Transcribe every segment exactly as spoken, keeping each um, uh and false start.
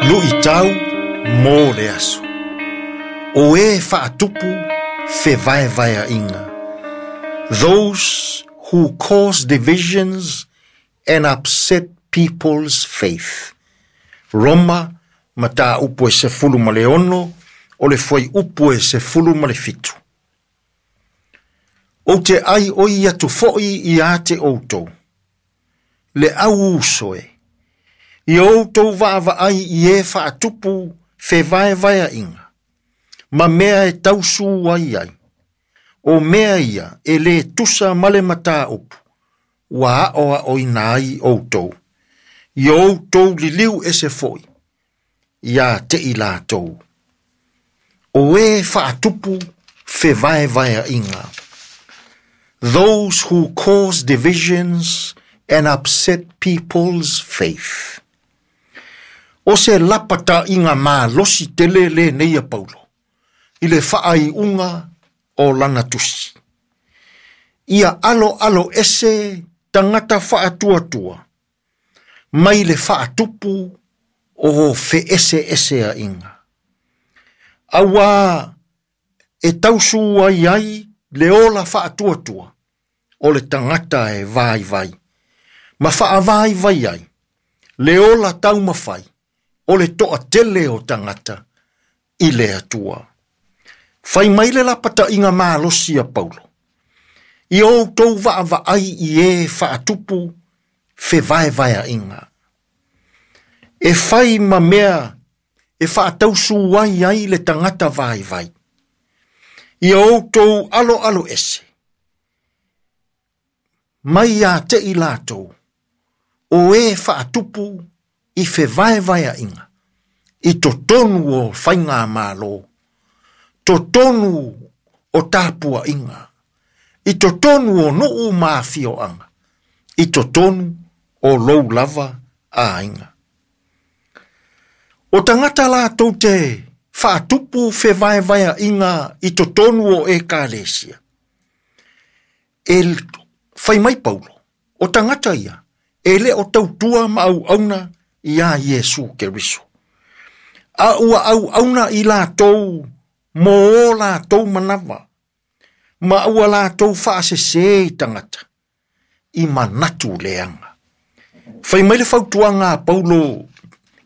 Luʻitau mo le aso. O e faatupu fevaevaeaʻiga. Those who cause divisions and upset people's faith. Roma, mataupu e sefulu ma le ono, o le fuaiupu e sefulu ma le fitu. Ou te ʻaiʻoi atu foʻi iā te ʻoutou. Le au uso e. Ia outou vaavaai i e faatupu fevaevaeaʻiga. Ma mea e tausū ai ai. O mea ia e lē tusa ma le mataupu. Ua aʻoaʻoina ai outou. Ia outou liliu ese foʻi. Iā te i latou. O e faatupu fevaevaeaʻiga. Those who cause divisions and upset people's faith. O se lapataʻiga malosi tele lenei a Paulo. I le faaiuga o lana tusi. Ia aloalo ese tagata faatuatua. Mai le faatupu o feeseeseaʻiga. Auā e tausū ai ai le ola faatuatua o le tagata e vaivai. Ma faavaivai ai le ola taumafai o le toatele o tagata i le Atua. Fai mai le lapataʻiga malosi a Paulo. Ia outou vaavaai i e faatupu fevaevaeaʻiga. E fai ma mea e faatausū ai ai le tagata vaivai. Ia outou aloalo ese. Mai iā te i latou. O e faatupu i fevaevaeaʻiga. I totonu o faigamālō. Totonu o tapuaʻiga. I totonu o nuu ma afioaga. I totonu o lou lava aiga. O tagata latou te faatupu fevaevaeaʻiga i totonu o ekalesia. E fai mai Paulo, o tagata ia, e lē o tautua ma auauna iā Iesu Keriso. A ua auauna i latou mo o latou manava. Ma ua latou faasesē i tagata. I manatu leaga. Fai mai le fautuaga a Paulo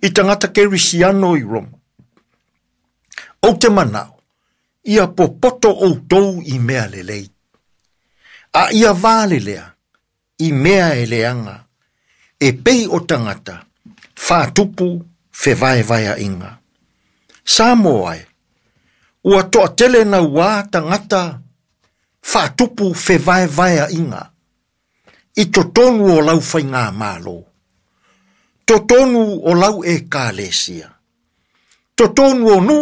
i tagata kerisiano i Roma. Ou te manaʻo, ia popoto outou i mea lelei. A ia valelea i mea e leaga. E pei o tagata, faatupu fevaevaeaʻiga. Samoa e, ua toatele nauā tagata faatupu fevaevaeaʻiga. I totonu o lau faigamālō. Totonu o lau ekalesia. Totonu o nuu.